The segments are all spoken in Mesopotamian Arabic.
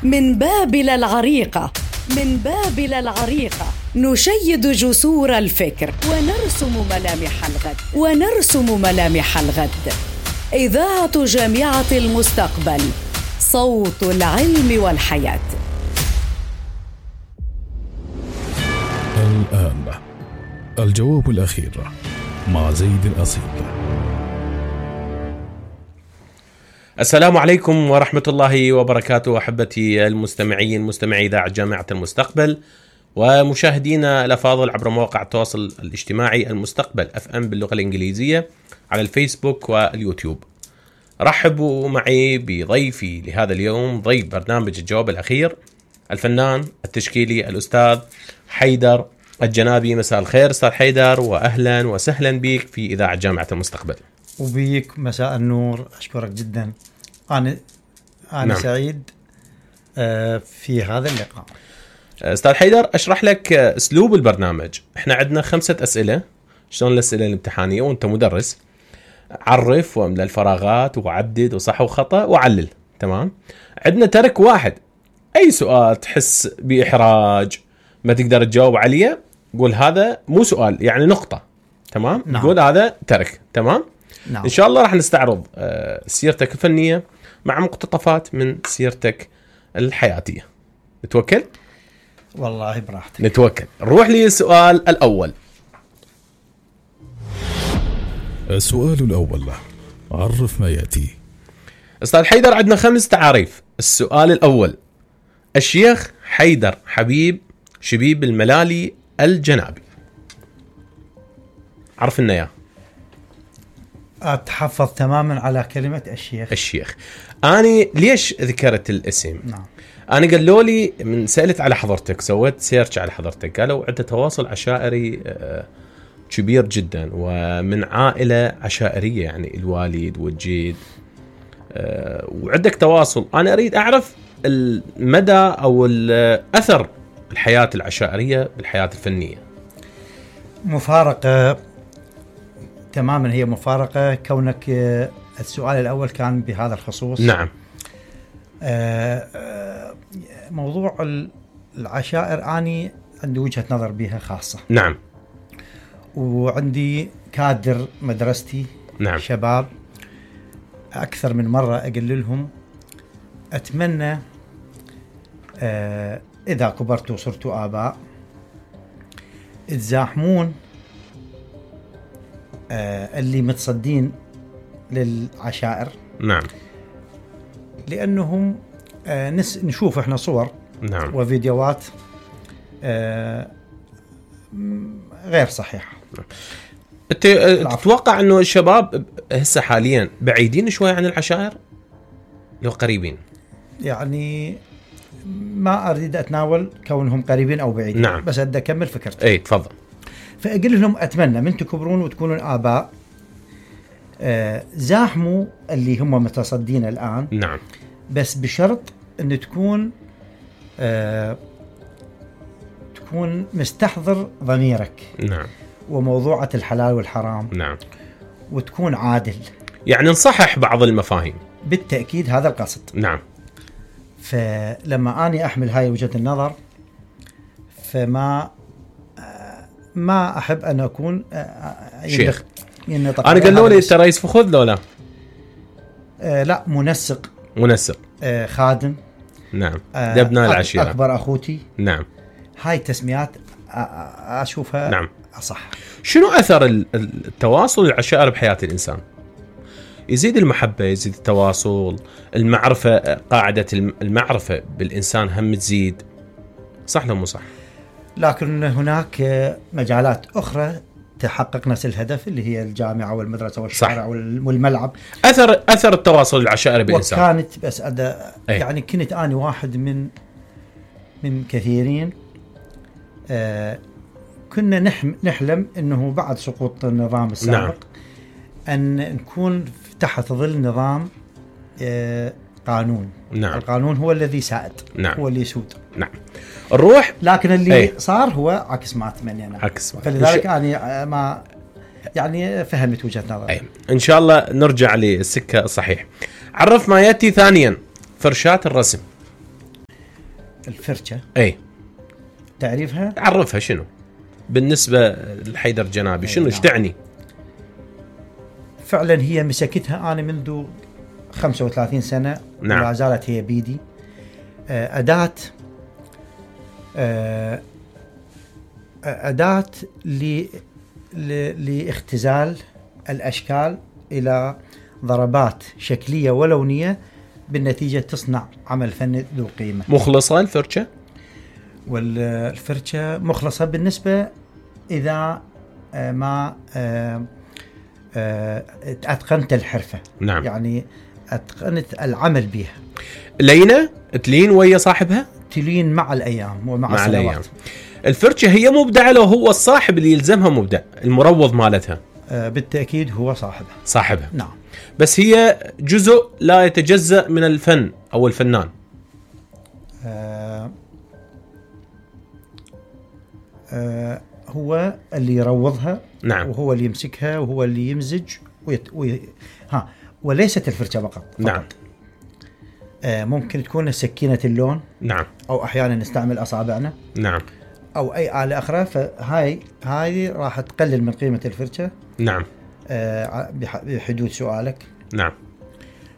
من بابل العريقة، من بابل العريقة نشيد جسور الفكر ونرسم ملامح الغد، ونرسم ملامح الغد. إذاعة جامعة المستقبل، صوت العلم والحياة. الآن الجواب الأخير مع زيد الأصيل. السلام عليكم ورحمة الله وبركاته أحبتي المستمعين، مستمعي إذاعة جامعة المستقبل ومشاهدينا الأفاضل عبر مواقع التواصل الاجتماعي المستقبل FM باللغة الإنجليزية على الفيسبوك واليوتيوب. رحبوا معي بضيفي لهذا اليوم، ضيف برنامج الجواب الأخير، الفنان التشكيلي الأستاذ حيدر الجنابي. مساء الخير أستاذ حيدر، وأهلا وسهلا بك في إذاعة جامعة المستقبل. وبيك مساء النور، أشكرك جدا. أنا نعم. سعيد في هذا اللقاء. أستاذ حيدر، أشرح لك أسلوب البرنامج. إحنا عندنا 5 أسئلة، شلون الأسئلة الامتحانية وأنت مدرس. عرف واملأ الفراغات وعدد وصح وخطأ وعلل. تمام. عندنا ترك واحد، أي سؤال تحس بإحراج ما تقدر تجاوب عليه قول هذا مو سؤال، يعني نقطة. تمام. نعم. قول هذا ترك. تمام. نعم. إن شاء الله راح نستعرض سيرتك الفنية مع مقتطفات من سيرتك الحياتية. نتوكل؟ والله براحتك. نتوكل. نروح للسؤال الأول. السؤال الأول، عرف ما يأتي. أستاذ حيدر، عندنا 5 تعاريف. السؤال الأول: الشيخ حيدر حبيب شبيب الملالي الجنابي. عرف لنا إياه. أتحفظ تماما على كلمة الشيخ. أنا ليش ذكرت الاسم؟ نعم. أنا قالوا لي من سألت على حضرتك، سويت سيرش على حضرتك، قالوا عندك تواصل عشائري كبير جدا ومن عائلة عشائرية، يعني الوالد والجد، وعندك تواصل. أنا أريد أعرف المدى أو الأثر الحياة العشائرية بالحياة الفنية. مفارقة تماما، هي مفارقة كونك السؤال الأول كان بهذا الخصوص. نعم. موضوع العشائر أني عندي وجهة نظر بها خاصة. نعم. وعندي كادر مدرستي. نعم. شباب أكثر من مرة أقول لهم أتمنى إذا كبرتوا وصرتوا آباء تزاحمون اللي متصدين للعشائر. نعم. لأنهم نشوف إحنا صور. نعم. وفيديوهات غير صحيحة. تتوقع أنه الشباب هسه حاليا بعيدين شوي عن العشائر لو قريبين؟ يعني ما أريد أتناول كونهم قريبين أو بعيدين. نعم. بس أدي أكمل فكرتي. أي تفضل. فأقول لهم أتمنى من تكبرون وتكونون آباء زاحموا اللي هم متصدين الآن. نعم. بس بشرط أن تكون مستحضر ضميرك. نعم. وموضوعة الحلال والحرام. نعم. وتكون عادل، يعني نصحح بعض المفاهيم. بالتأكيد هذا القصد. نعم. فلما أني أحمل هاي وجهة النظر، فما ما أحب أن أكون شيخ. أنا قالوا لي أنت رئيس فخذ لولا؟ لا، منسق خادم. نعم. دبنا العشيرة، أكبر أخوتي. نعم. هاي تسميات أشوفها نعم. أصح. شنو أثر التواصل العشائر بحياة الإنسان؟ يزيد المحبة، يزيد التواصل، المعرفة، قاعدة المعرفة بالإنسان هم تزيد. صح لو مو صح؟ لكن هناك مجالات أخرى تحقق نفس الهدف، اللي هي الجامعة والمدرسة والشارع والملعب. أثر التواصل العشائري بالإنسان. وكانت بس يعني كنت أنا واحد من كثيرين. كنا نحلم أنه بعد سقوط النظام السابق. نعم. أن نكون تحت ظل نظام قانون. نعم. القانون هو الذي سائد. نعم. هو اللي يسود. نعم. الروح. لكن اللي صار هو عكس ما أتمنى أنا. عكس. فلذلك أنا ما يعني فهمت وجهة نظر. إن شاء الله نرجع للسكة الصحيح. عرف ما يأتي ثانيا: فرشاة الرسم. الفرشة اي تعريفها؟ عرفها شنو بالنسبة لحيدر جنابي، شنو ايش تعني؟ فعلا هي مسكتها أنا منذ 35 سنة. نعم. ولا زالت هي بيدي أداة لاختزال الأشكال إلى ضربات شكلية ولونية، بالنتيجة تصنع عمل فني ذو قيمة. مخلصة الفرشة؟ والفرشة مخلصة بالنسبة إذا ما أتقنت الحرفة. نعم. يعني أتقنت العمل بها. لينة تلين ويا صاحبها؟ تلين مع الأيام ومع السنوات. الأيام. الفرشة هي مبدعة لو هو الصاحب اللي يلزمها مبدع، المروض مالتها بالتأكيد هو صاحبها. نعم. بس هي جزء لا يتجزأ من الفن أو الفنان. هو اللي يروضها. نعم. وهو اللي يمسكها وهو اللي يمزج وليست الفرشة فقط. نعم. ممكن تكون سكينة اللون. نعم. أو أحيانا نستعمل أصابعنا. نعم. أو أي آلة أخرى، فهاي راح تقلل من قيمة الفرشة. نعم. بحدود سؤالك. نعم.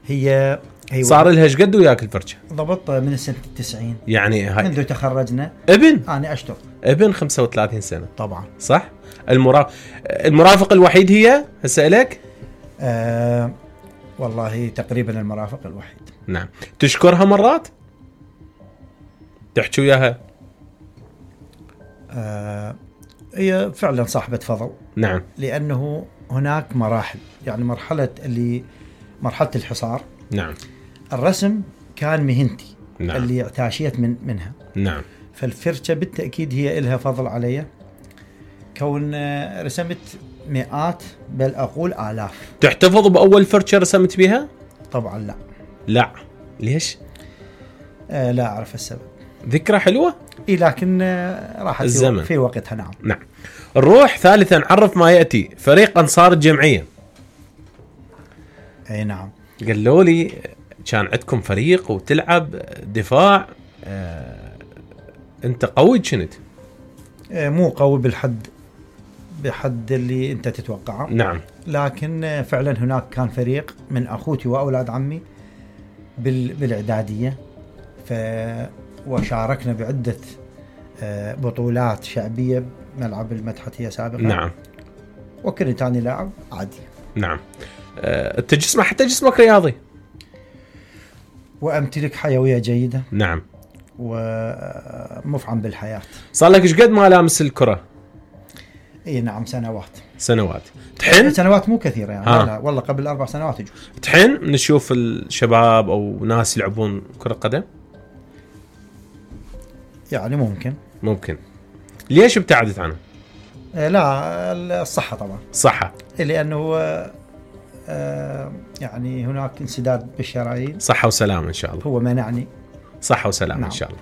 هي صار لها ايش قد وياك الفرشة؟ ضبط من سنة 90. يعني هاي منذ تخرجنا. أنا أشتغل. 35 سنة. طبعا. صح؟ المرافق الوحيد هي هسه لك؟ والله تقريبا المرافق الوحيد. نعم. تشكرها مرات؟ تحكي وياها؟ هي فعلا صاحبة فضل. نعم. لأنه هناك مراحل، يعني مرحلة الحصار. نعم. الرسم كان مهنتي. نعم. اللي اعتاشيت منها. نعم. فالفرشة بالتأكيد هي إلها فضل علي، كون رسمت مئات بل أقول آلاف. تحتفظ بأول فرشة رسمت بها؟ طبعا لا. ليش؟ لا أعرف السبب. ذكرى حلوة؟ لكن راحت الزمن في وقتها. نعم. نعم. نروح ثالثا، عرف ما يأتي فريق أنصار الجمعية. أي نعم. قالوا لي كان عندكم فريق وتلعب دفاع. أنت قوي كنت؟ مو قوي بحد اللي أنت تتوقعه. نعم. لكن فعلا هناك كان فريق من أخوتي وأولاد عمي بالإعدادية، وشاركنا بعدة بطولات شعبية بملعب المدحتية سابقا. نعم. وكنت أنا لاعب عادي. نعم. حتى جسمك رياضي. وأمتلك حيوية جيدة. نعم. ومفعم بالحياة. صار لك ايش قد ما لامس الكرة؟ اي نعم، سنوات. تحن؟ سنوات مو كثيرة يعني. لا والله قبل 4 سنوات يجوز. تحن نشوف الشباب او ناس يلعبون كرة قدم؟ يعني ممكن. ليش ابتعدت عنه؟ لا، الصحة طبعا. صحة. لأنه يعني هناك انسداد بالشرايين. صحة وسلامة إن شاء الله. هو منعني. صحة وسلامة. نعم. إن شاء الله.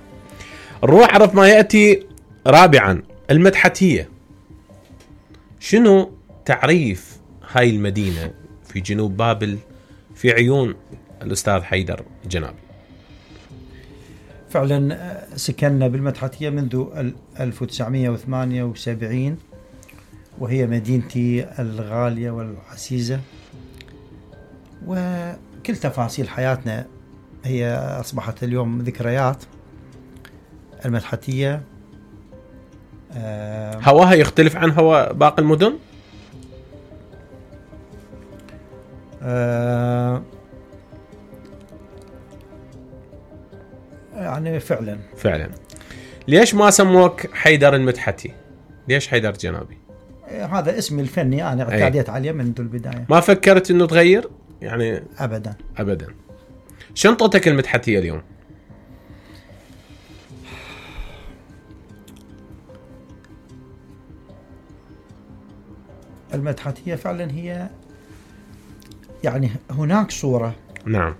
نروح عرف ما يأتي رابعا، المدحتية. شنو تعريف هاي المدينة في جنوب بابل في عيون الأستاذ حيدر جنابي؟ فعلا سكننا بالمدحتية منذ 1978، وهي مدينتي الغالية والعزيزة، وكل تفاصيل حياتنا هي أصبحت اليوم ذكريات. المدحتية هواها يختلف عن هوا باقي المدن؟ يعني فعلا. ليش ما سموك حيدر المدحتي؟ ليش حيدر جنابي؟ هذا اسمي الفني، أنا اعتاديت عليه منذ البداية. ما فكرت إنه تغير يعني؟ أبدا. شنطتك المدحتية اليوم؟ المدحتية فعلا هي يعني هناك صورة نعم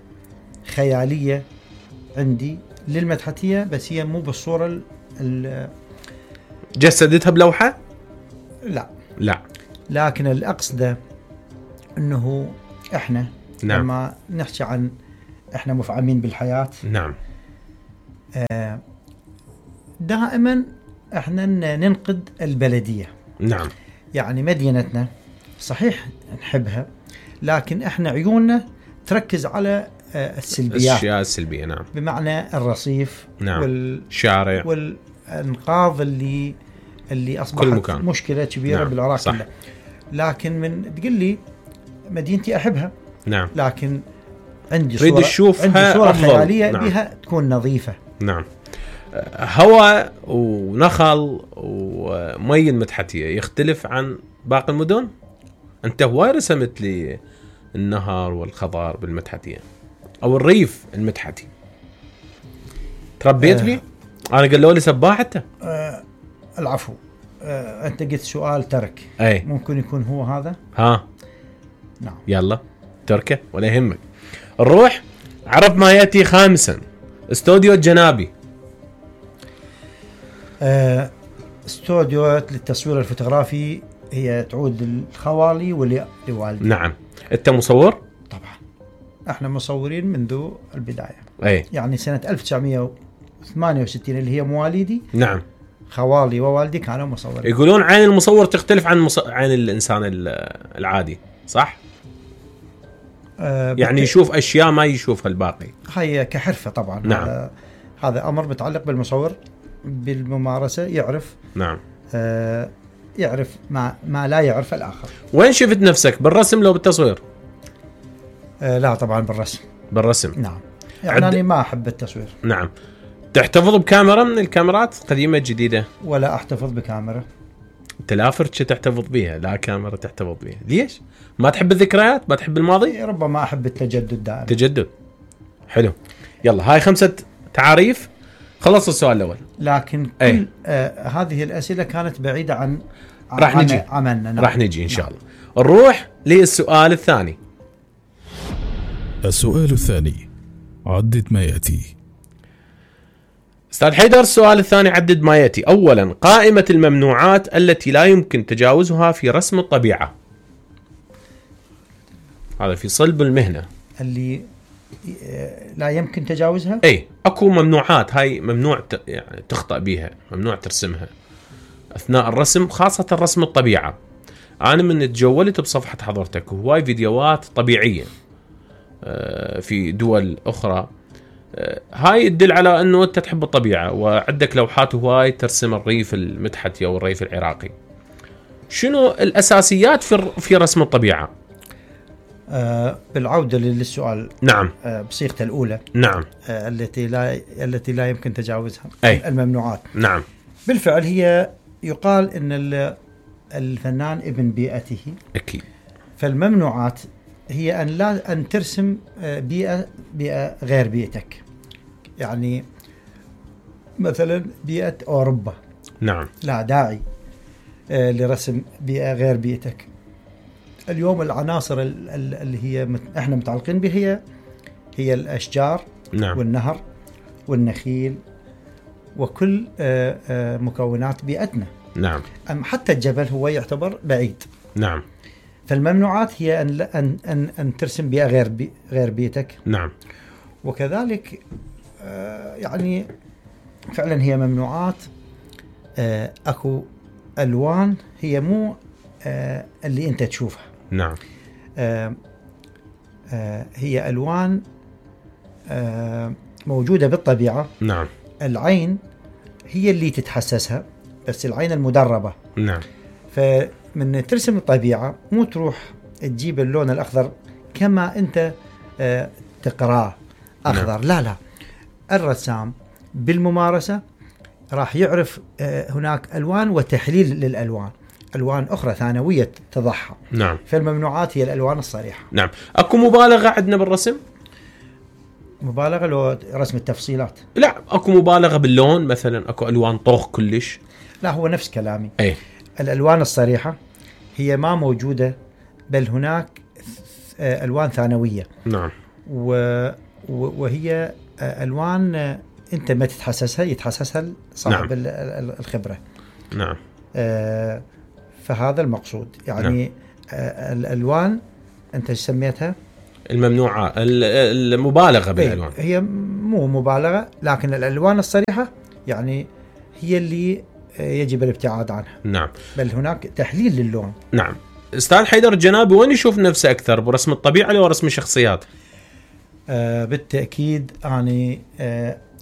خيالية عندي للمدحتية، بس هي مو بالصورة جسدتها بلوحة؟ لا، لكن الأقصد أنه إحنا نعم. لما نحكي عن إحنا مفعمين بالحياة، نعم. دائما احنا ننقد البلدية. نعم. يعني مدينتنا صحيح نحبها، لكن احنا عيوننا تركز على السلبيات، الاشياء السلبيه. نعم. بمعنى الرصيف، نعم. والشارع والانقاض اللي اصبحت مشكله كبيره. نعم. بالعراق كله. لكن من تقول لي مدينتي احبها، نعم، لكن عندي صوره خياليه. نعم. بها تكون نظيفه. نعم. هواء ونخل ومي المتحتيه يختلف عن باقي المدن. انت هواي رسمت لي النهر والخضار بالمتحتيه او الريف المتحتي، تربيت فيه. انا قالوا لي سباح انت. العفو. انت قلت سؤال ترك. أي. ممكن يكون هو هذا. ها. نعم. يلا تركه ولا يهمك. نروح. عرف ما ياتي خامسا. استوديو الجنابي. استوديو للتصوير الفوتوغرافي، هي تعود للخوالي ولوالدي. نعم. انت مصور؟ طبعا احنا مصورين منذ البدايه. اي. يعني سنه 1968 اللي هي مواليدي. نعم. خوالي ووالدي كانوا مصورين. يقولون عين المصور تختلف عن عين الانسان العادي، صح؟ يعني يشوف اشياء ما يشوفها الباقي. هي كحرفه طبعا. نعم. هذا امر متعلق بالمصور بالممارسه، يعرف. نعم. يعرف ما لا يعرف الاخر. وين شفت نفسك، بالرسم لو بالتصوير؟ لا طبعا بالرسم. بالرسم. نعم. يعني أنا ما احب التصوير. نعم. تحتفظ بكاميرا من الكاميرات قديمه جديده؟ ولا احتفظ بكاميرا. انت لا فرشه تحتفظ بها، لا كاميرا تحتفظ بها. ليش؟ ما تحب الذكريات؟ ما تحب الماضي؟ ربما احب التجدد دائما. تجدد. حلو. يلا هاي 5 تعاريف. خلص السؤال الاول. لكن كل هذه الاسئله كانت بعيده عن راح نجي عملنا. نعم. راح نجي ان شاء الله. نروح للسؤال الثاني. السؤال الثاني. عدد ما ياتي. استاذ حيدر، السؤال الثاني عدد ما ياتي. اولا، قائمه الممنوعات التي لا يمكن تجاوزها في رسم الطبيعه. هذا في صلب المهنه. اللي لا يمكن تجاوزها؟ اي، اكو ممنوعات، هاي ممنوع يعني تخطئ بيها، ممنوع ترسمها اثناء الرسم، خاصه رسم الطبيعه. انا من تجولت بصفحه حضرتك هواي فيديوهات طبيعيه في دول اخرى، هاي تدل على انه انت تحب الطبيعه، وعندك لوحات هواي ترسم الريف المتحتي او الريف العراقي. شنو الاساسيات في رسم الطبيعه؟ بالعوده للسؤال. نعم. بصيغته الاولى. نعم. التي لا يمكن تجاوزها. أي. الممنوعات. نعم. بالفعل هي يقال ان الفنان ابن بيئته. اكيد. فالممنوعات هي ان ترسم بيئه غير بيئتك. يعني مثلا بيئه اوروبا. نعم. لا داعي لرسم بيئه غير بيئتك. اليوم العناصر اللي هي احنا متعلقين بها هي الاشجار. نعم. والنهر والنخيل وكل مكونات بيئتنا. نعم. حتى الجبل هو يعتبر بعيد. نعم. فالممنوعات هي ان ترسم بيئه غير بيئتك. نعم. وكذلك يعني فعلا هي ممنوعات. اكو الوان هي مو اللي انت تشوفها. نعم. هي الوان موجوده بالطبيعه. نعم. العين هي اللي تتحسسها، بس العين المدربه. نعم. فمن ترسم الطبيعه مو تروح تجيب اللون الاخضر كما انت تقراه اخضر. نعم. لا الرسام بالممارسه راح يعرف هناك الوان وتحليل للالوان، الوان اخرى ثانويه تضعها. نعم. فالممنوعات هي الالوان الصريحه. نعم. اكو مبالغه عندنا بالرسم؟ مبالغه لو رسم التفصيلات؟ لا، اكو مبالغه باللون مثلا، اكو الوان طوخ كلش. لا، هو نفس كلامي. اي. الالوان الصريحه هي ما موجوده، بل هناك الوان ثانويه. نعم. وهي الوان انت ما تتحسسها، يتحسسها صاحب. نعم. الخبره. نعم. فهذا المقصود يعني. نعم. الالوان انت سميتها الممنوعه، المبالغه بالالوان. هي مو مبالغه، لكن الالوان الصريحه يعني هي اللي يجب الابتعاد عنها. نعم. بل هناك تحليل للون. نعم. استاذ حيدر الجنابي وين يشوف نفسه اكثر، برسم الطبيعه او رسم الشخصيات؟ بالتاكيد اني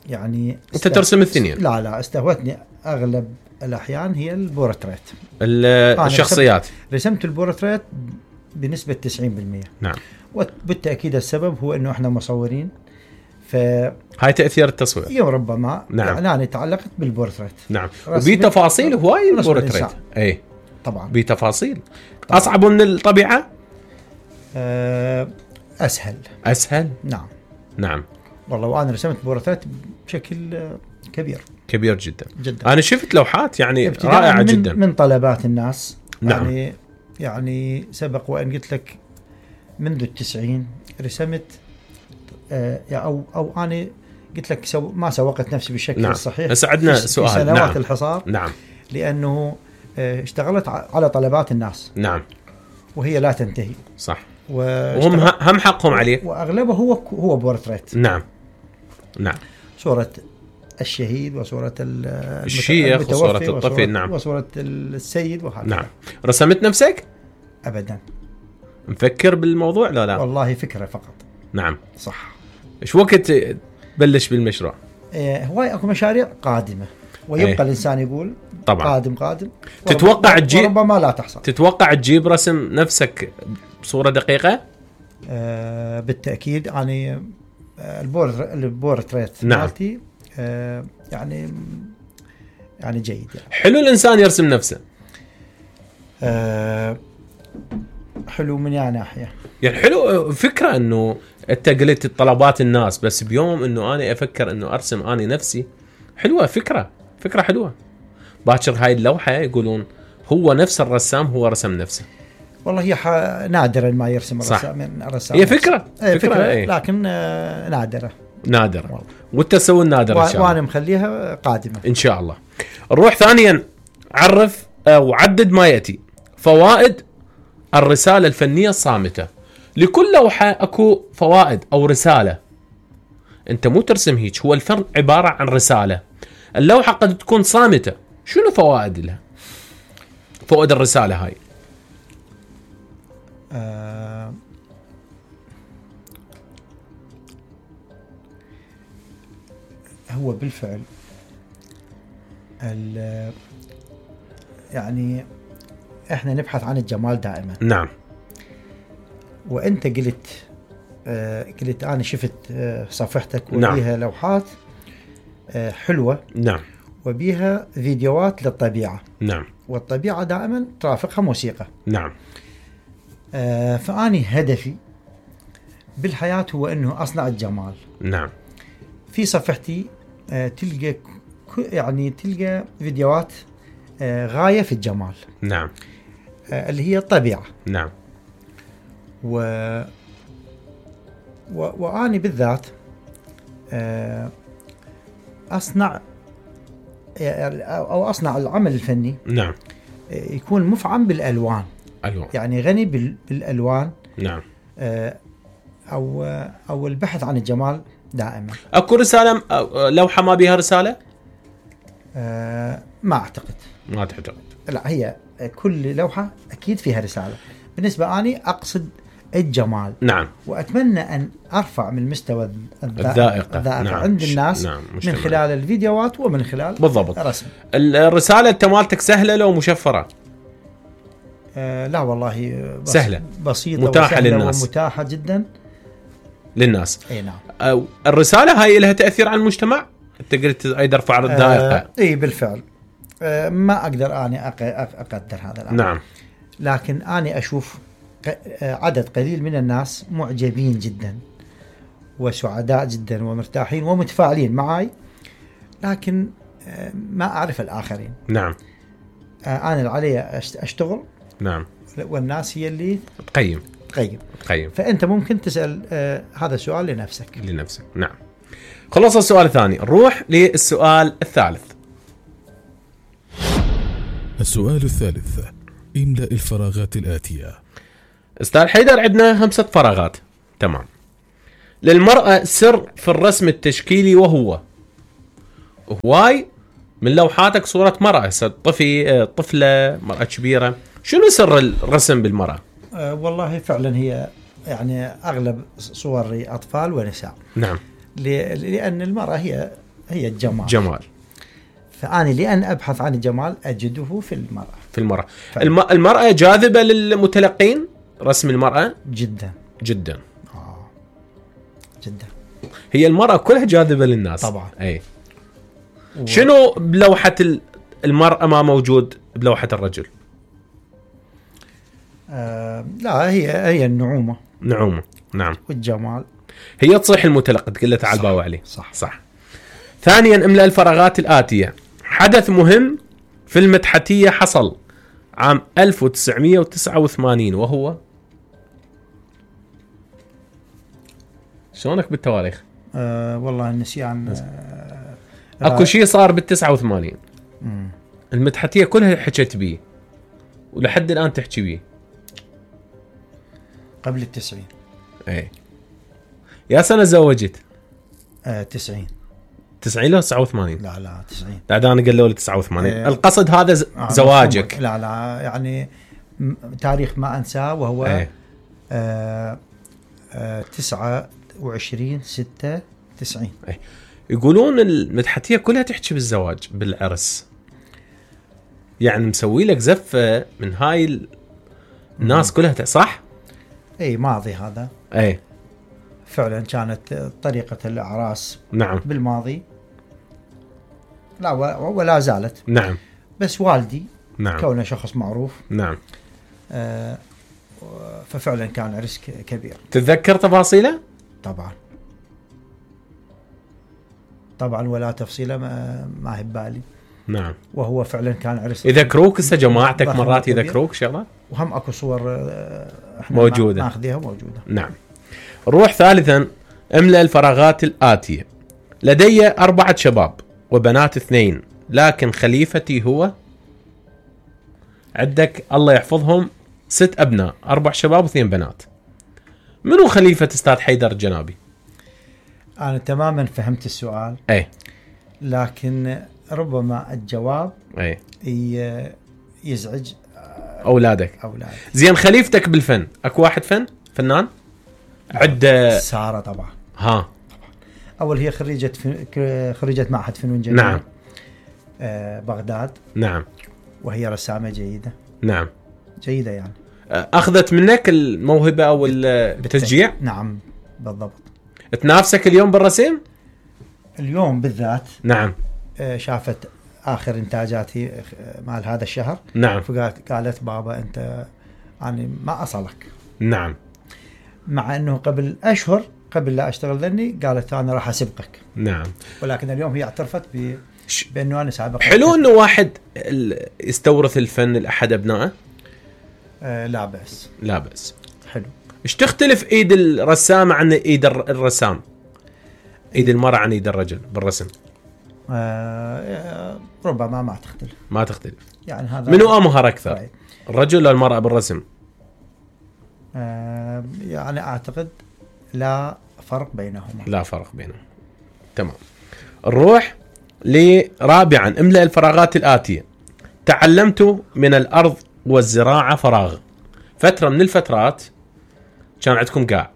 يعني انت ترسم الاثنين؟ لا استهوتني اغلب الاحيان هي البورتريت، الشخصيات. رسمت البورتريت بنسبه 90%. نعم. وبالتاكيد السبب هو انه احنا مصورين، هاي تاثير التصوير. يوم ربما نعم. يعني أنا تعلقت بالبورتريت. نعم. وبي تفاصيل هواي البورتريت. اي طبعا بي تفاصيل. اصعب من الطبيعه؟ اسهل. نعم. نعم. والله وانا رسمت بورتريت بشكل كبير جدا. انا شفت لوحات يعني رائعه جدا من طلبات الناس. نعم. يعني سبق وان قلت لك منذ 90 رسمت او انا قلت لك ما سوقت نفسي بالشكل نعم. الصحيح. بس عندنا سؤال. في سنوات نعم. الحصار. نعم. لانه اشتغلت على طلبات الناس. نعم. وهي لا تنتهي. صح. وهم هم حقهم عليك. واغلبه هو بورتريت. نعم. نعم. صورة الشهيد وصورة الشيخ وصورة الطفل. نعم. وصورة السيد وهكذا. نعم. رسمت نفسك؟ ابدا. مفكر بالموضوع؟ لا والله فكرة فقط. نعم. صح. ايش وقت بلش بالمشروع؟ هواي اكو مشاريع قادمة ويبقى الانسان يقول طبعا قادم. تتوقع تجيب، ربما لا تحصل. تتوقع تجيب رسم نفسك بصورة دقيقة؟ بالتأكيد. يعني البورتريت نعم. مالتي يعني جيد يعني. حلو الانسان يرسم نفسه. حلو من يعني ناحية. يعني حلو فكرة انه انت قلت طلبات الناس، بس بيوم انه انا افكر انه ارسم اني نفسي. حلوة فكرة حلوة. باكر هاي اللوحة يقولون هو نفس الرسام هو رسم نفسه. والله هي نادرا ما يرسم الرسام. هي فكرة لكن نادرة. وانت تسوي النادر ان شاء الله. وانا مخليها قادمة ان شاء الله. نروح ثانيا، عرف وعدد ما يأتي فوائد الرسالة الفنية الصامتة. لكل لوحة اكو فوائد او رسالة. انت مو ترسم هيك، هو الفن عبارة عن رسالة. اللوحة قد تكون صامتة، شنو فوائد لها؟ فوائد الرسالة هاي. هو بالفعل يعني احنا نبحث عن الجمال دائما. نعم. وانت قلت انا شفت صفحتك نعم. وبيها لوحات حلوة. نعم. وبيها فيديوهات للطبيعة. نعم. والطبيعة دائما ترافقها موسيقى. نعم. فأني هدفي بالحياة هو انه اصنع الجمال. نعم. في صفحتي تلقى فيديوهات غاية في الجمال. نعم. اللي هي الطبيعة. نعم. وأنا بالذات أصنع العمل الفني. نعم. يكون مفعم بالألوان. يعني غني بالألوان. نعم. أو البحث عن الجمال دائما. اكو رسالة لوحة ما بيها رسالة؟ ما أعتقد. ما تعتقد؟ لا، هي كل لوحة أكيد فيها رسالة. بالنسبة أني أقصد الجمال. نعم. وأتمنى أن أرفع من مستوى الذائقة. نعم. عند الناس. نعم. من خلال الفيديوهات ومن خلال بالضبط الرسم. الرسالة انت مالتك سهلة لو مشفرة؟ لا والله سهلة، بسيطة، متاحة للناس، ومتاحة جدا للناس. اي نعم. الرسالة هاي لها تأثير على المجتمع؟ انت قلت ايضا ارفع الذائقة. اي بالفعل. ما اقدر اني اقدر هذا الامر. نعم. لكن اني اشوف عدد قليل من الناس معجبين جدا وسعداء جدا ومرتاحين ومتفاعلين معي، لكن ما اعرف الاخرين. نعم. انا اللي علي اشتغل. نعم. والناس هي اللي تقيم. فأنت ممكن تسأل هذا السؤال لنفسك. نعم. خلص السؤال الثاني، نروح للسؤال الثالث. السؤال الثالث، املأ الفراغات الآتية. استاذ حيدر عندنا 5 فراغات. تمام. للمرأة سر في الرسم التشكيلي وهو هواي من لوحاتك صورة مرأة، طفلة، مرأة كبيرة، شنو سر الرسم بالمرأة؟ والله فعلا هي يعني أغلب صوري أطفال ونساء. نعم. لأن المرأة هي الجمال. جمال. فأنا لأن أبحث عن الجمال أجده في المرأة. في المرأة. المرأة جاذبة للمتلقين، رسم المرأة؟ جدا. جدا. جدا. هي المرأة كلها جاذبة للناس. طبعا. أي. شنو بلوحة المرأة ما موجود بلوحة الرجل؟ لا هي النعومة. نعومة. نعم. والجمال. هي تصيح المتلقي تقول له تعال باوع عليه. صح. ثانيا املأ الفراغات الآتية. حدث مهم في المدحتية حصل عام 1989 وهو شلونك بالتواريخ؟ والله النسيان. اكو شيء صار بال89. المدحتية كلها حكت بيه ولحد الآن تحكي بيه. قبل 90. اي. يا سنة زوجت؟ 90. 90 لو 89؟ لا 90. لا انا قالوا لي 89. القصد هذا زواجك. لا يعني تاريخ ما انساه وهو 29/6/90. يقولون المدحتية كلها تحكي بالزواج بالعرس، يعني مسوي لك زفة من هاي الناس كلها صح؟ اي ماضي هذا. اي فعلا كانت طريقة الأعراس. نعم. بالماضي لا ولا زالت. نعم. بس والدي نعم. كونه شخص معروف. نعم. ففعلا كان عرس كبير. تتذكر تفاصيله؟ طبعا ولا تفصيله ما هي ببالي. نعم. وهو فعلا كان عرس. يذكروك هسه جماعتك مرات يذكروك شغلات؟ وهم اكو صور موجودة. ناخذيها موجودة. نعم. نروح ثالثا املأ الفراغات الآتية. لدي 4 شباب وبنات 2، لكن خليفتي هو. عندك الله يحفظهم 6 أبناء، 4 شباب و2 بنات. منو خليفة أستاذ حيدر الجنابي؟ أنا تماما فهمت السؤال. أي. لكن ربما الجواب يزعج أولادك. زين خليفتك بالفن أكو واحد فنان؟ عدة سارة طبعا. طبعا. أول هي خريجة معهد فنون جميلة. نعم. بغداد. نعم. وهي رسامة جيدة. نعم. جيدة يعني. أخذت منك الموهبة أو التشجيع؟ نعم بالضبط. تنافسك اليوم بالرسم؟ اليوم بالذات. نعم. شافت آخر إنتاجاتي مال هذا الشهر. نعم. فقالت بابا أنت يعني ما أصلك. نعم. مع أنه قبل أشهر قبل لا أشتغل ذني قالت أنا راح أسبقك. نعم. ولكن اليوم هي اعترفت بأنه أنا سابق. حلو أنه واحد يستورث الفن لأحد أبنائه. لا بأس. لا بأس. حلو. إيش تختلف إيد الرسام عن إيد الرسام؟ إيد المرأة عن إيد الرجل بالرسم؟ ربما ما تختلف. يعني هذا منو أمهر أكثر؟ الرجل ولا المرأة بالرسم؟ يعني أعتقد لا فرق بينهما. لا فرق بينهم. تمام. نروح لرابعا املأ الفراغات الآتية. تعلمت من الأرض والزراعة فراغ. فترة من الفترات كان عندكم قاع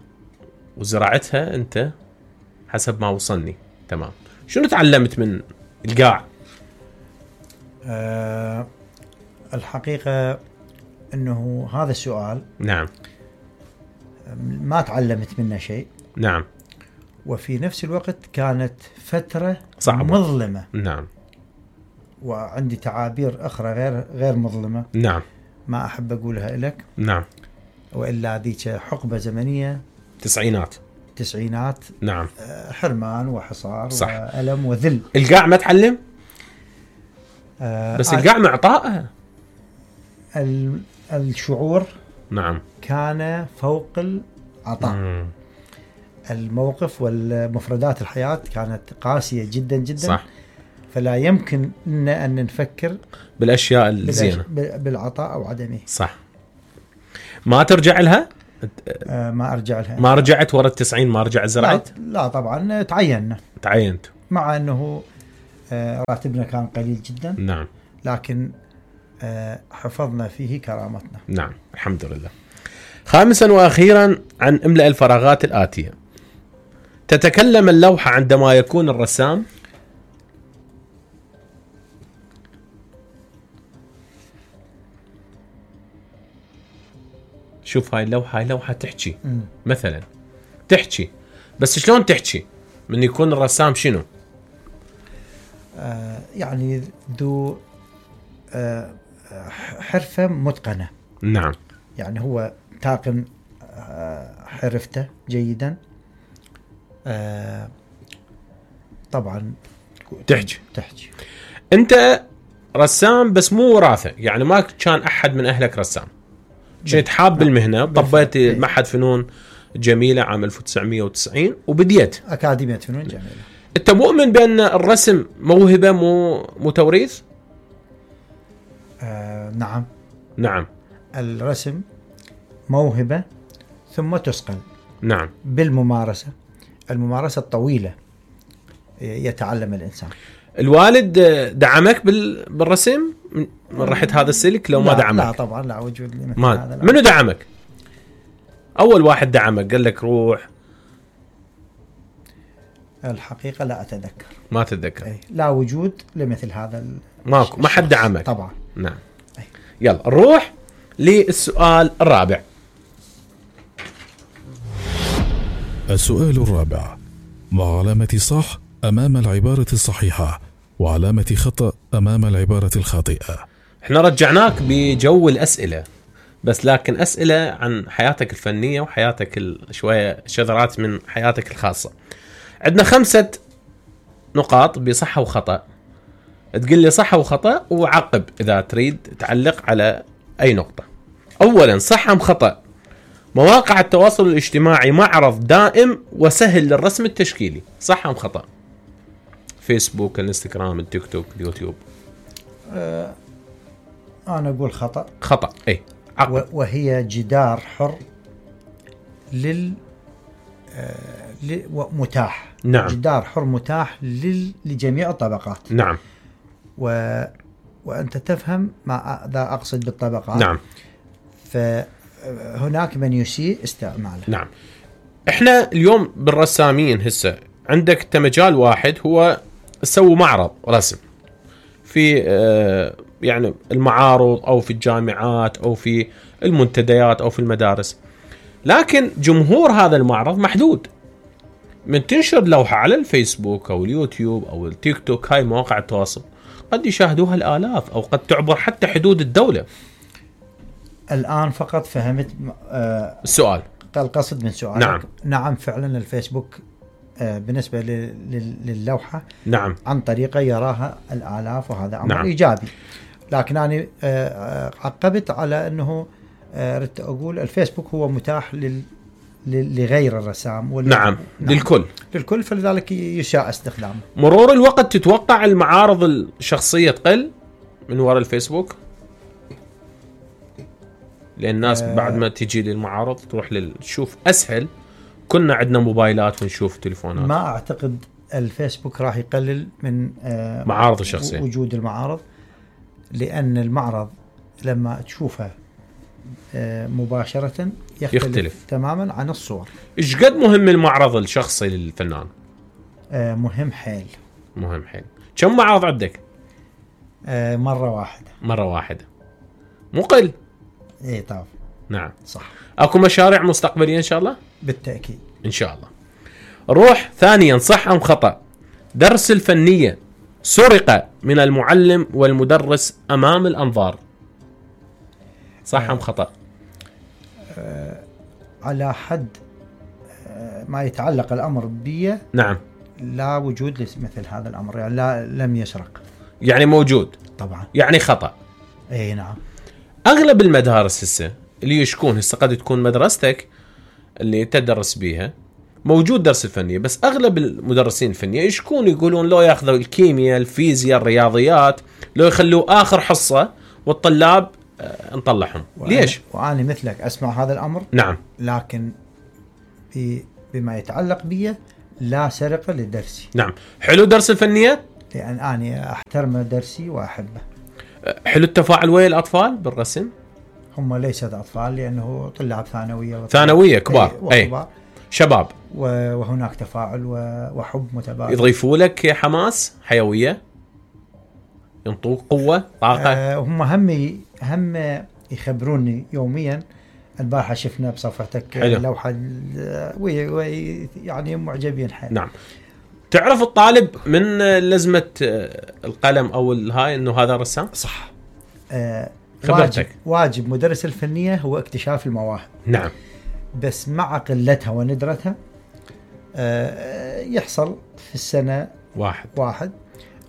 وزراعتها أنت حسب ما وصلني. تمام. شنو تعلمت من القاع؟ الحقيقة أنه هذا السؤال. نعم. ما تعلمت منه شيء. نعم. وفي نفس الوقت كانت فترة صعبة. مظلمة. نعم. وعندي تعابير أخرى غير مظلمة. نعم. ما أحب أقولها لك. نعم. وإلا ذيك حقبة زمنية. تسعينات. نعم. حرمان وحصار. صح. وألم وذل. القاع ما تعلم؟ بس القاع معطائها. الشعور. نعم. كان فوق العطاء. الموقف والمفردات الحياة كانت قاسية جدا جدا. صح. فلا يمكن أن نفكر بالأشياء الزينة بالعطاء أو عدمه. صح. ما ترجع لها؟ ما أرجع لها. ما رجعت ورا 90 ما رجعت زرعت؟ لا طبعا تعينت. مع أنه راتبنا كان قليل جدا. نعم. لكن حفظنا فيه كرامتنا. نعم الحمد لله. خامسا وأخيرا عن املأ الفراغات الآتية. تتكلم اللوحة عندما يكون الرسام شوف هاي اللوحة، هاي لوحة تحكي مثلا، تحكي، بس شلون تحكي؟ من يكون الرسام شنو؟ يعني ذو حرفة متقنة. نعم. يعني هو تاقن حرفته جيدا. طبعا تحكي. انت رسام بس مو وراثة، يعني ما كان أحد من أهلك رسام، كنت حاب بالمهنة، طبيت معهد فنون جميلة عام 1990 وبديت أكاديمية فنون جميلة. أنت مؤمن بأن الرسم موهبة مو توريث؟ نعم. الرسم موهبة ثم تسقل. نعم. بالممارسة، الممارسة الطويلة يتعلم الإنسان. الوالد دعمك بالرسم من رحت هذا السلك لو ما دعمك؟ لا طبعا، لا وجود لي مثل هذا. منو دعمك؟ أول واحد دعمك قال لك روح؟ الحقيقة لا أتذكر. ما تتذكر؟ لا وجود لمثل هذا. ماكو، ما حد دعمك طبعا. نعم. يلا نروح للسؤال الرابع. السؤال الرابع: ما علامة صح أمام العبارة الصحيحة وعلامة خطأ أمام العبارة الخاطئة؟ احنا رجعناك بجو الأسئلة، بس لكن أسئلة عن حياتك الفنية وحياتك شوية شذرات من حياتك الخاصة. عندنا 5 نقاط بصحة وخطأ، تقول لي صح وخطأ وعقب إذا تريد تعلق على أي نقطة. أولا، صح أم خطأ مواقع التواصل الاجتماعي معرض دائم وسهل للرسم التشكيلي؟ صح أم خطأ؟ فيسبوك، الانستغرام، التيك توك، اليوتيوب. أنا أقول خطأ. خطأ. أي وهي جدار حر متاح. نعم. جدار حر متاح لجميع الطبقات. نعم. وأنت تفهم ماذا أقصد بالطبقات. نعم. فهناك من يسيء استعماله. نعم. احنا اليوم بالرسامين هسه عندك مجال واحد هو تسوي معرض رسم في يعني المعارض او في الجامعات او في المنتديات او في المدارس، لكن جمهور هذا المعرض محدود. من تنشر لوحة على الفيسبوك او اليوتيوب او التيك توك، هاي مواقع التواصل، قد يشاهدوها الآلاف او قد تعبر حتى حدود الدولة. الآن فقط فهمت السؤال، القصد من سؤالك. نعم فعلا الفيسبوك بالنسبة للوحة نعم عن طريقة يراها الآلاف، وهذا أمر إيجابي. لكن أنا عقبت على أنه ردت أقول الفيسبوك هو متاح لغير الرسام نعم للكل، فلذلك يشاء استخدامه. مرور الوقت تتوقع المعارض الشخصية تقل من وراء الفيسبوك؟ لأن الناس بعد ما تيجي للمعارض تروح تشوف أسهل. كنا عندنا موبايلات ونشوف تليفونات. ما أعتقد الفيسبوك راح يقلل من معارض الشخصية، وجود المعارض، لأن المعرض لما تشوفه مباشرة يختلف تماما عن الصور. إيش قد مهم المعرض الشخصي للفنان؟ مهم حيل. كم معرض عندك؟ مرة واحدة. مو قل. ايه طبعا. نعم صح. اكو مشاريع مستقبلية ان شاء الله؟ بالتأكيد ان شاء الله. روح ثانيا، صح ام خطأ درس الفنية سرق من المعلم والمدرس امام الانظار؟ صح ام خطأ؟ على حد ما يتعلق الامر بي. نعم. لا وجود مثل هذا الامر، يعني لا لم يسرق. يعني موجود طبعا. يعني خطأ. اي نعم. اغلب المدارس هسه اللي يشكون هسه قد تكون مدرستك اللي تدرس بيها موجود درس الفنية، بس اغلب المدرسين الفنية يشكون يقولون لو ياخذوا الكيمياء، الفيزياء، الرياضيات، لو يخلوا اخر حصة والطلاب نطلعهم. ليش؟ وانا مثلك اسمع هذا الامر. نعم. لكن بما يتعلق بي لا سرقة لدرسي. نعم. حلو درس الفنية؟ لأن أنا أحترم درسي وأحبه. حلو التفاعل ويا الأطفال بالرسم؟ هم ليست أطفال لأنه طلاب ثانوية ثانوية كبار وكبار شباب، وهناك تفاعل وحب متبادل. يضيفوا لك حماس، حيوية، ينطوك قوة، طاقة. هم هم يخبروني يوميا. البارحة شفنا بصفحتك لوحة يعني معجبين حيل. نعم. تعرف الطالب من لزمة القلم أو الهاي أنه هذا رسام؟ صح. واجب مدرس الفنية هو اكتشاف المواهب. نعم. بس مع قلتها وندرتها يحصل في السنة واحد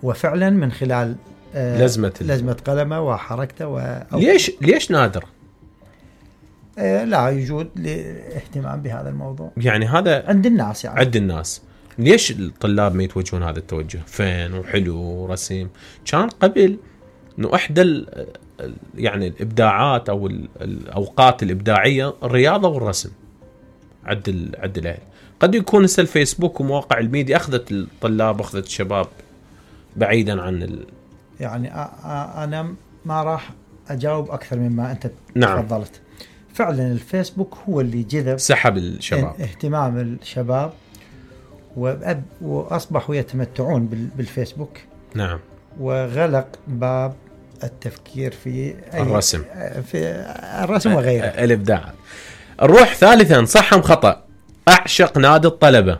وفعلا من خلال لزمة قلمه وحركته ليش نادر؟ لا يوجد اهتمام بهذا الموضوع. يعني هذا عند الناس يعني. عند الناس. ليش الطلاب ما يتوجهون هذا التوجه؟ فن وحلو ورسم. كان قبل انه احدى يعني الابداعات او الاوقات الابداعيه الرياضه والرسم. عد الاهل. قد يكون هسه الفيسبوك ومواقع الميديا اخذت الطلاب، اخذت الشباب بعيدا عن يعني انا ما راح اجاوب اكثر مما انت نعم. تفضلت. فعلا الفيسبوك هو اللي جذب، سحب الشباب، اهتمام الشباب، واصبحوا يتمتعون بالفيسبوك. نعم. وغلق باب التفكير في الرسم، وغيره الابداع. نروح ثالثا، صح ام خطأ؟ اعشق نادي الطلبة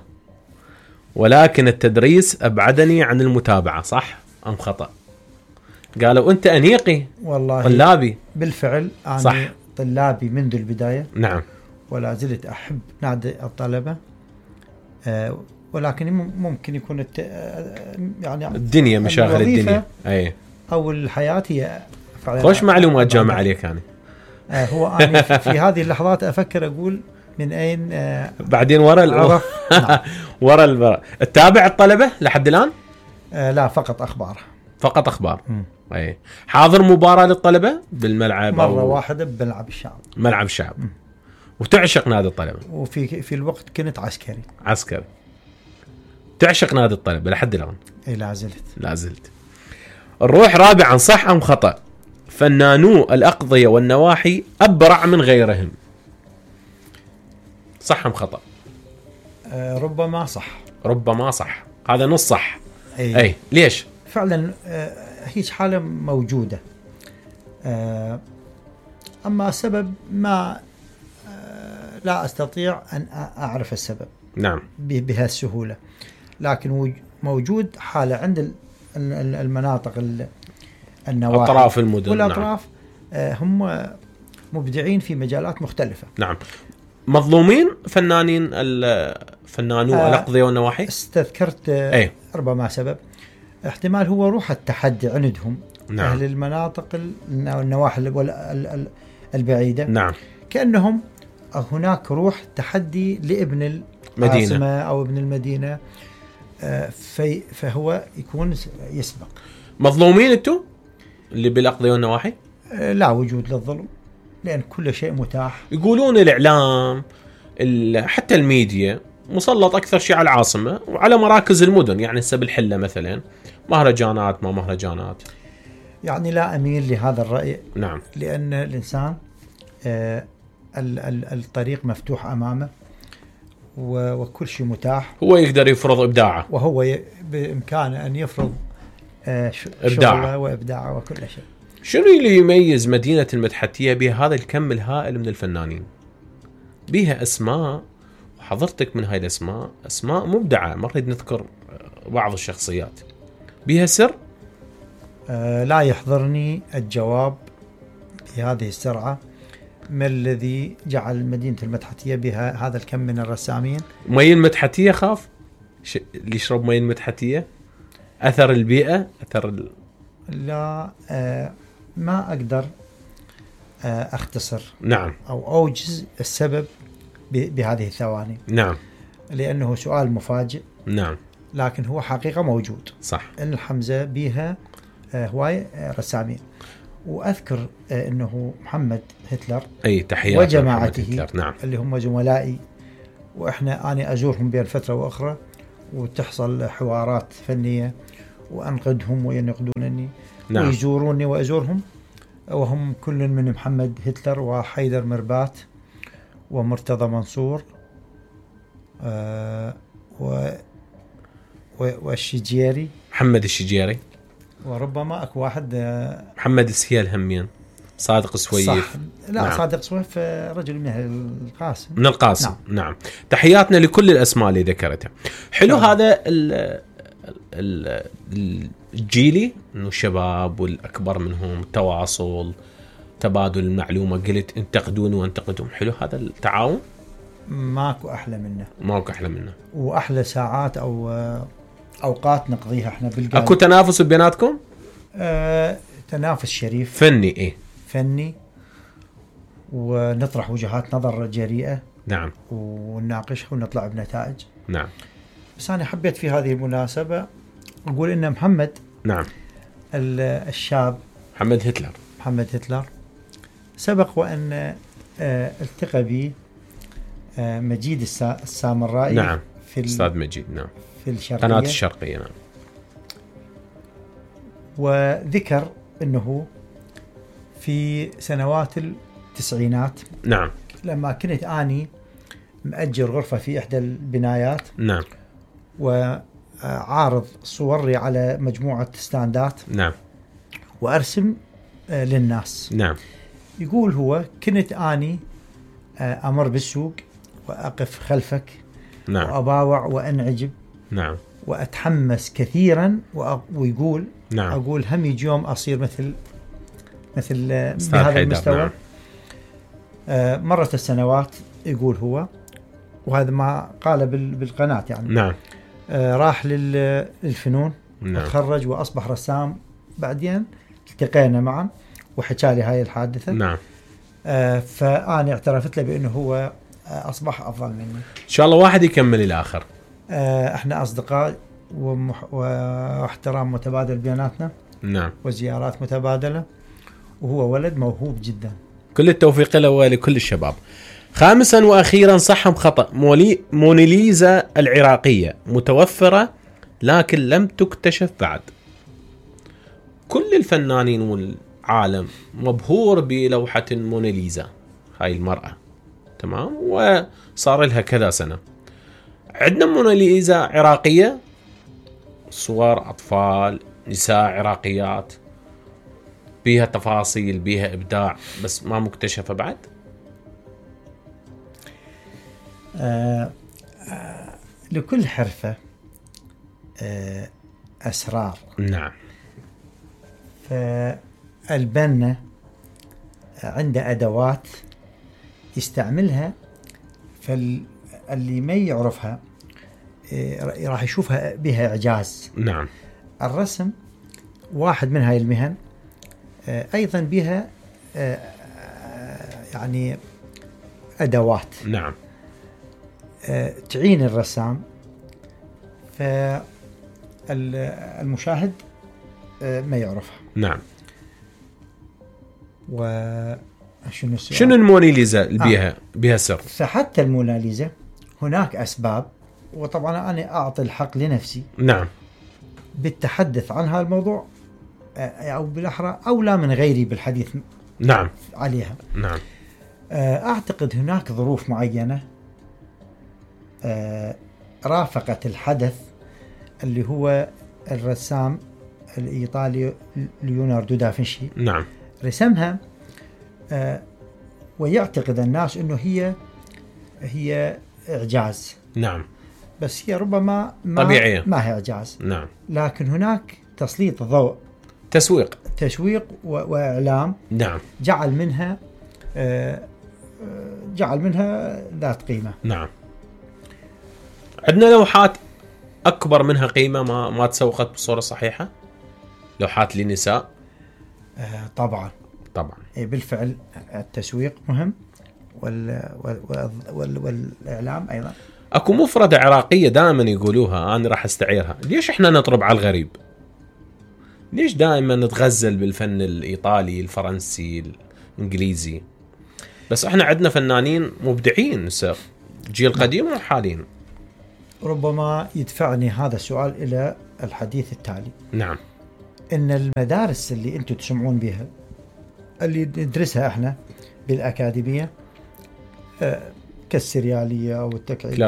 ولكن التدريس ابعدني عن المتابعة. صح ام خطأ؟ قالوا انت انيقي. والله طلابي بالفعل انا صح. طلابي منذ البداية. نعم. ولا زلت احب نادي الطلبة، ولكن ممكن يكون يعني الدنيا، مشاغل الدنيا اي او الحياة هي خوش معلومات جامعة عليك. يعني هو أنا في هذه اللحظات أفكر أقول من أين بعدين ورا نعم. ورا تتابع الطلبة لحد الآن؟ لا، فقط أخبار. أي حاضر مباراة للطلبة بالملعب مرة واحدة بملعب الشعب. وتعشق نادي الطلبة. وفي الوقت كنت عسكري. تعشق نادي الطلبة لحد الآن؟ أي لا زلت. نروح رابعا، صح أم خطأ؟ فنانو الأقضية والنواحي أبرع من غيرهم. صح أم خطأ؟ ربما صح. هذا نص صح. أي ليش؟ فعلا هيج حالة موجودة، أما السبب ما لا أستطيع أن أعرف السبب. نعم. بهالسهولة، لكن موجود حالة عند المناطق النواحي، أطراف المدن والأطراف. نعم. هم مبدعين في مجالات مختلفة. نعم. مظلومين فنانو الأقضية والنواحي. استذكرت ربما سبب، احتمال هو روح التحدي عندهم. نعم. أهل المناطق النواحي البعيدة. نعم. كأنهم هناك روح تحدي لابن العاصمة أو ابن المدينة، فهو يكون يسبق. مظلومين انتو اللي بالأقضية والنواحي؟ لا وجود للظلم، لأن كل شيء متاح. يقولون الإعلام حتى الميديا مسلط أكثر شيء على العاصمة وعلى مراكز المدن. يعني هسه بالحلة مثلا مهرجانات ما مهرجانات. يعني لا أميل لهذا الرأي. نعم. لأن الإنسان الطريق مفتوح أمامه وكل شيء متاح. هو يقدر يفرض إبداعه، وهو بإمكانه أن يفرض إبداعه وإبداعه وكل شيء. شنو اللي يميز مدينة المدحتية بهذا الكم الهائل من الفنانين؟ بها أسماء، وحضرتك من هاي الأسماء أسماء مبدعة، ما نريد نذكر بعض الشخصيات. بها سر؟ لا يحضرني الجواب بهذه السرعة. ما الذي جعل مدينة المدحتية بها هذا الكم من الرسامين؟ مي المدحتية خاف اللي يشرب مي المدحتية. أثر البيئة، لا ما أقدر أختصر. نعم. أو أوجز السبب بهذه الثواني. نعم. لأنه سؤال مفاجئ. نعم. لكن هو حقيقة موجود. صح. إن الحمزة بها هواي رسامين. وأذكر أنه محمد هتلر تحيات وجماعته. نعم. اللي هم زملائي، وإحنا أنا أزورهم بين فترة وأخرى، وتحصل حوارات فنية وأنقدهم وينقدونني. نعم. ويزوروني وأزورهم، وهم كل من محمد هتلر وحيدر مربات ومرتضى منصور والشجيري، محمد الشجيري، وربما اكو واحد محمد السهيل همين، صادق السويف. لا نعم. صادق السويف رجل من القاسم، من القاسم. نعم. تحياتنا لكل الأسماء اللي ذكرتها. حلو. هذا الجيلي، انه الشباب والأكبر منهم، تواصل، تبادل المعلومة، قلت انتقدوني وانتقدهم. حلو هذا التعاون، ماكو أحلى منه، ماكو أحلى منه. وأحلى ساعات أو أوقات نقضيها احنا بالقلب. اكو تنافس بيناتكم؟ تنافس شريف فني. ايه فني، ونطرح وجهات نظر جريئة. نعم. ونناقشها ونطلع بنتائج. نعم. بس أنا حبيت في هذه المناسبة أقول إن محمد، نعم، الشاب محمد هتلر سبق وأن التقى به مجيد السامرائي. نعم. في أستاذ مجيد. نعم. في الشرقية، قناة الشرقية. نعم. وذكر أنه في سنوات التسعينات، نعم، لما كنت أني مأجر غرفة في إحدى البنايات، نعم، وعارض صوري على مجموعة ستاندات، نعم، وأرسم للناس. نعم. يقول هو كنت أني أمر بالسوق وأقف خلفك، نعم، وأباوع وأنعجب، نعم، وأتحمس كثيرا، ويقول نعم، أقول هم يجي يوم أصير مثل بهذا المستوى. نعم. مرت السنوات، يقول هو، وهذا ما قال بالقناة يعني. نعم. راح للفنون، نعم، تخرج وأصبح رسام. بعدين التقينا معا وحكى لي هاي الحادثة. نعم. فأنا اعترفت له بأنه هو أصبح أفضل مني. إن شاء الله واحد يكمل الآخر. احنا أصدقاء واحترام متبادل بيناتنا. نعم. وزيارات متبادلة، وهو ولد موهوب جدا. كل التوفيق له ولكل الشباب. خامسا وأخيرا، صح خطأ، موناليزا العراقية متوفرة لكن لم تكتشف بعد. كل الفنانين والعالم مبهور بلوحة موناليزا، هاي المرأة، تمام، وصار لها كذا سنة. عندنا موناليزا عراقية، صور أطفال، نساء عراقيات، بيها تفاصيل، بيها إبداع، بس ما مكتشفة بعد. لكل حرفة أسرار. نعم. فالبنا عنده أدوات يستعملها، فاللي ما يعرفها راح يشوفها بها إعجاز. نعم. الرسم واحد من هاي المهن، أيضا بها يعني أدوات. نعم. تعين الرسام، فالمشاهد ما يعرفها. نعم. وشنو السؤال؟ شنو الموناليزا اللي بيها سر؟ فحتى الموناليزا هناك أسباب، وطبعا أنا أعطي الحق لنفسي. نعم. بالتحدث عن هذا الموضوع، أو بالأحرى أولى من غيري بالحديث. نعم. عليها. نعم. أعتقد هناك ظروف معينة رافقت الحدث، اللي هو الرسام الإيطالي ليوناردو دافنشي. نعم. رسمها، ويعتقد الناس أنه هي إعجاز. نعم. بس هي ربما طبيعية، ما هي إعجاز. نعم. لكن هناك تسليط ضوء، تسويق وإعلام. نعم. جعل منها ذات قيمة. نعم. عندنا لوحات أكبر منها قيمة ما تسوقت بصورة صحيحة، لوحات للنساء. طبعا بالفعل التسويق مهم، والإعلام أيضا. أكو مفردة عراقية دائما يقولوها، أنا راح استعيرها: ليش إحنا نطرب على الغريب؟ ليش دائما نتغزل بالفن الإيطالي، الفرنسي، الإنجليزي؟ بس إحنا عندنا فنانين مبدعين، جيل قديم وحاليين. ربما يدفعني هذا السؤال إلى الحديث التالي. نعم. ان المدارس اللي انتم تسمعون بها اللي ندرسها احنا بالاكاديميه كالسرياليه او التكعيبيه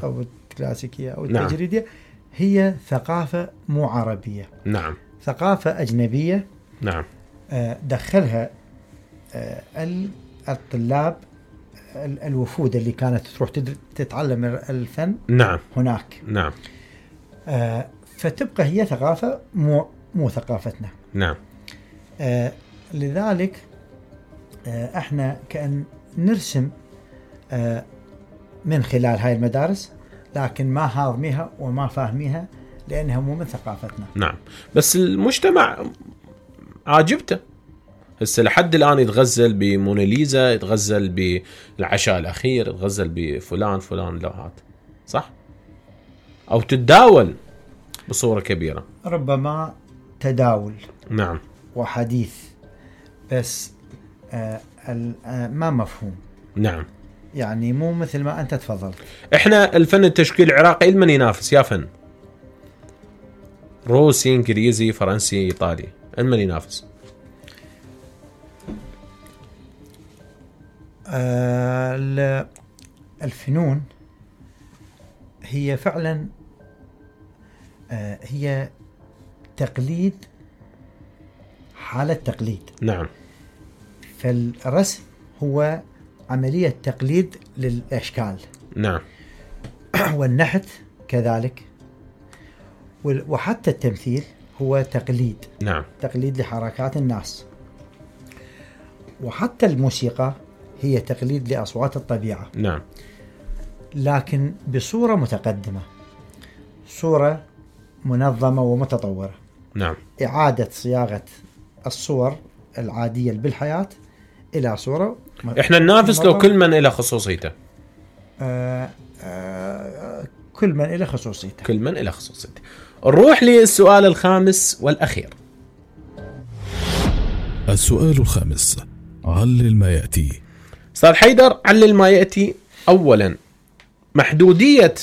او الكلاسيكيه او التجريديه، نعم. هي ثقافه مو عربيه، نعم. ثقافه اجنبيه، نعم. دخلها الطلاب الوفود اللي كانت تروح تتعلم الفن، نعم. هناك، نعم. فتبقى هي ثقافة مو ثقافتنا، نعم. لذلك احنا كأن نرسم من خلال هاي المدارس، لكن ما هاضميها وما فاهميها لأنها مو من ثقافتنا. نعم. بس المجتمع عاجبته هسه لحد الآن، يتغزل بموناليزا، يتغزل بالعشاء الأخير، يتغزل بفلان لوحات، صح؟ أو تتداول بصورة كبيرة، ربما تداول، نعم، وحديث، بس ما مفهوم، نعم، يعني مو مثل ما أنت تفضلت. إحنا الفن التشكيل العراقي لمن ينافس يا فن؟ روسي، إنجليزي، فرنسي، إيطالي، لمن ينافس؟ الفنون هي فعلا هي تقليد، حالة تقليد، نعم. فالرسم هو عملية تقليد للأشكال، نعم. والنحت كذلك، وحتى التمثيل هو تقليد، نعم، تقليد لحركات الناس، وحتى الموسيقى هي تقليد لأصوات الطبيعة، نعم، لكن بصورة متقدمة، صورة منظمة ومتطورة، نعم، إعادة صياغة الصور العادية بالحياة إلى صورة. إحنا ننافس لو كل من إلى خصوصيته. كل من إلى خصوصيته. كل من إلى خصوصيته. نروح للسؤال الخامس والأخير. السؤال الخامس، علل ما يأتي. أستاذ حيدر، علل ما يأتي. أولا، محدودية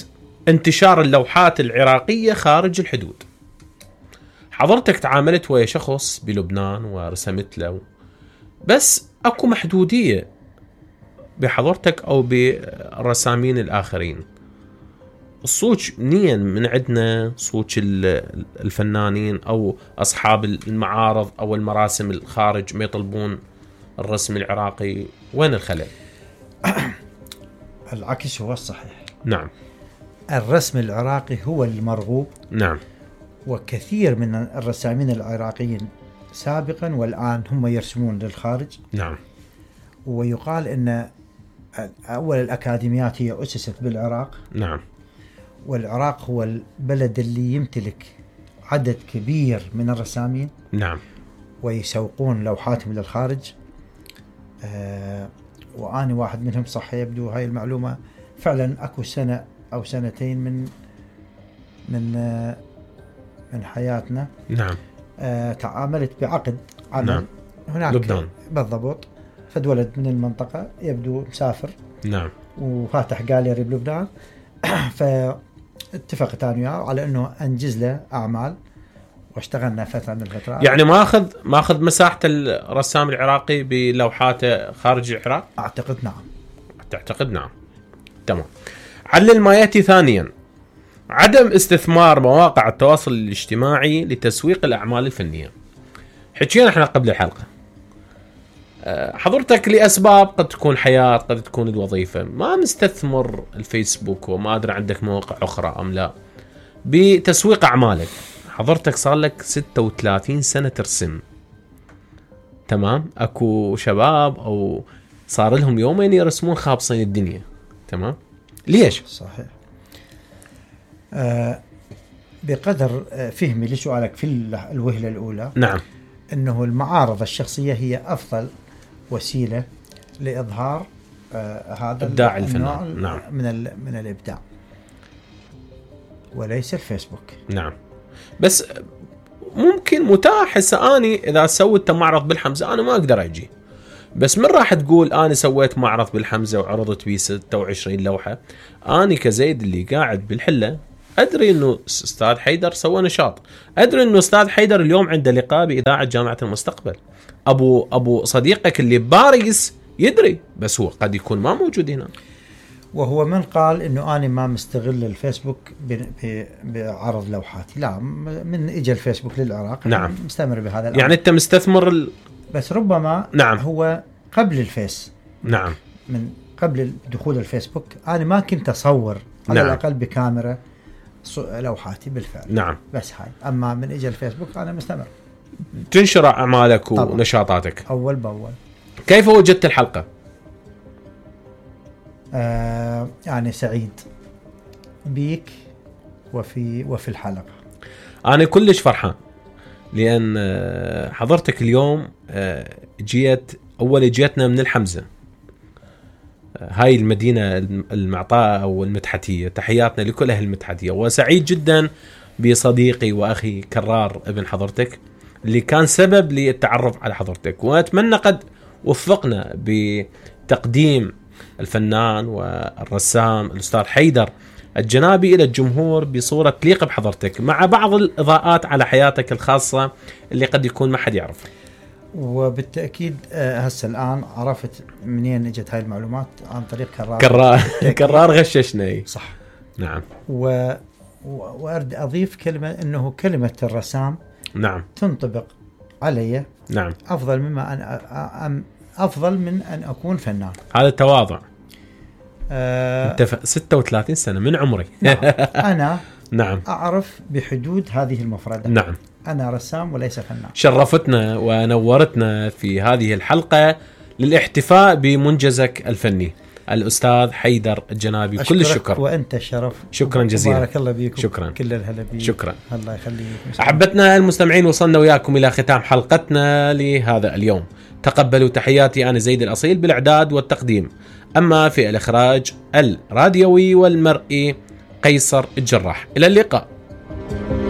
انتشار اللوحات العراقية خارج الحدود. حضرتك تعاملت ويا شخص بلبنان ورسمت له، بس أكو محدودية بحضرتك أو بالرسامين الآخرين. الصوت منين من عندنا، صوت الفنانين أو أصحاب المعارض أو المراسم الخارج ما يطلبون الرسم العراقي، وين الخلل؟ العكس هو الصحيح. نعم. الرسم العراقي هو المرغوب. نعم. وكثير من الرسامين العراقيين سابقا والآن هم يرسمون للخارج. نعم. ويقال أن أول الأكاديميات هي أسست بالعراق. نعم. والعراق هو البلد اللي يمتلك عدد كبير من الرسامين. نعم. ويسوقون لوحاتهم للخارج. وأنا واحد منهم، صح يبدو هاي المعلومة فعلا. أكو سنة أو سنتين من حياتنا. نعم. تعاملت بعقد عمل. نعم. هناك لبنان بالضبط. فد ولد من المنطقة يبدو مسافر. نعم. وفاتح جاليري بلبنان. فاتفقت أنا وياه على أنه أنجز له أعمال، واشتغلنا فترة من الفترات. يعني ما أخذ مساحة الرسام العراقي بلوحاته خارج العراق؟ أعتقد نعم. تعتقد نعم. تمام. علل ما يأتي. ثانيا، عدم استثمار مواقع التواصل الاجتماعي لتسويق الأعمال الفنية. حكينا احنا قبل الحلقة، حضرتك لأسباب قد تكون حياة، قد تكون الوظيفة، ما مستثمر الفيسبوك وما أدري عندك مواقع أخرى أم لا بتسويق أعمالك. حضرتك صار لك 36 سنة ترسم، تمام؟ أكو شباب أو صار لهم يومين يرسمون خابصين الدنيا، تمام؟ ليش؟ صحيح. بقدر فهمي لسؤالك في الوهلة الأولى، نعم، أنه المعارض الشخصية هي أفضل وسيلة لإظهار هذا إبداع الفنان. نعم. من الإبداع، وليس الفيسبوك. نعم. بس ممكن متاح هسه اني اذا سويت معرض بالحمزه انا ما اقدر اجي، بس من راح تقول انا سويت معرض بالحمزه وعرضت بيه 26 لوحه، اني كزيد اللي قاعد بالحله ادري انه استاذ حيدر سوى نشاط، ادري انه استاذ حيدر اليوم عنده لقاء باذاعه جامعه المستقبل، ابو صديقك اللي بباريس يدري، بس هو قد يكون ما موجود هنا. وهو من قال انه انا ما مستغل الفيسبوك بعرض لوحاتي؟ لا، من اجى الفيسبوك للعراق نعم مستمر بهذا الامر. يعني انت مستثمر بس ربما نعم هو قبل الفيس، نعم، من قبل دخول الفيسبوك انا ما كنت اصور على نعم. الاقل بكاميرا لوحاتي بالفعل. نعم. بس هاي، اما من اجى الفيسبوك انا مستمر تنشر اعمالك طبعا. ونشاطاتك اول باول. كيف وجدت الحلقه؟ يعني سعيد بيك وفي الحلقه. انا كلش فرحان لان حضرتك اليوم جيتنا من الحمزه، هاي المدينه المعطاءه او المدحتيه. تحياتنا لكل اهل المدحتيه، وسعيد جدا بصديقي واخي كرار ابن حضرتك اللي كان سبب للتعرف على حضرتك، واتمنى قد وفقنا بتقديم الفنان والرسام الأستاذ حيدر الجنابي إلى الجمهور بصورة تليق بحضرتك، مع بعض الإضاءات على حياتك الخاصة اللي قد يكون ما حد يعرفها. وبالتأكيد هسه الآن عرفت منين اجت هاي المعلومات، عن طريق كرار غششني. صح. نعم. وأرد أضيف كلمة، إنه كلمة الرسام نعم تنطبق علي. نعم. أفضل من أن أكون فنان. هذا التواضع. أنت 36 سنة من عمري. نعم. أنا نعم أعرف بحدود هذه المفردة. نعم. أنا رسام وليس فنان. شرفتنا ونورتنا في هذه الحلقة للاحتفاء بمنجزك الفني الأستاذ حيدر الجنابي. كل الشكر. وأنت الشرف. شكرا جزيلا. بارك الله بيكم. شكرا. كل الهلا بيك. شكرا. الله يخليك. أحبتنا المستمعين، وصلنا وياكم إلى ختام حلقتنا لهذا اليوم. تقبلوا تحياتي، أنا زيد الأصيل بالإعداد والتقديم، أما في الإخراج الراديوي والمرئي قيصر الجراح. إلى اللقاء.